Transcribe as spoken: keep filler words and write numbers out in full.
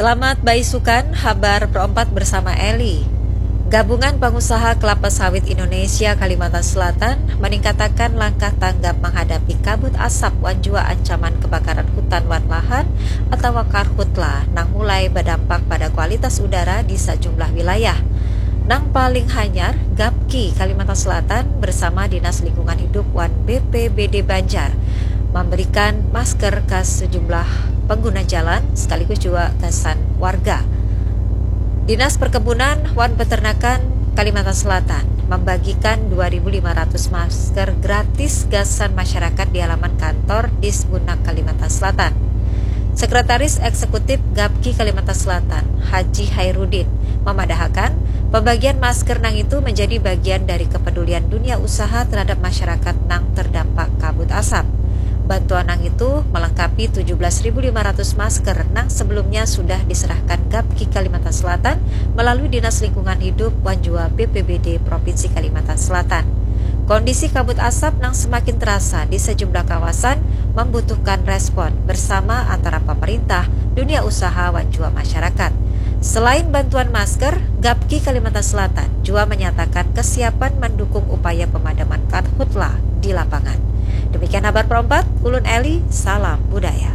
Selamat baisukan, habar perompat bersama Eli. Gabungan Pangusaha Kelapa Sawit Indonesia Kalimantan Selatan meningkatakan langkah tanggap menghadapi kabut asap wan jua ancaman kebakaran hutan wan lahan atau karhutla nang mulai berdampak pada kualitas udara di sejumlah wilayah. Nang paling hanyar, Gapki Kalimantan Selatan bersama Dinas Lingkungan Hidup wan B P B D Banjar memberikan masker ke sejumlah pengguna jalan sekaligus juga gasan warga. Dinas Perkebunan wan Peternakan Kalimantan Selatan membagikan dua ribu lima ratus masker gratis gasan masyarakat di halaman kantor Disbunak Kalimantan Selatan. Sekretaris Eksekutif Gapki Kalimantan Selatan, Haji Hairudin, memadahakan pembagian masker nang itu menjadi bagian dari kepedulian dunia usaha terhadap masyarakat nang terdampak kabut asap. Bantuan nang itu melengkapi tujuh belas ribu lima ratus masker nang sebelumnya sudah diserahkan Gapki Kalimantan Selatan melalui Dinas Lingkungan Hidup wan jua B P B D Provinsi Kalimantan Selatan. Kondisi kabut asap nang semakin terasa di sejumlah kawasan membutuhkan respon bersama antara pemerintah, dunia usaha, wan jua masyarakat. Selain bantuan masker, Gapki Kalimantan Selatan jua menyatakan kesiapan mendukung upaya pemadaman karhutla di lapangan. Demikian habar perompat, ulun Eli, salam budaya.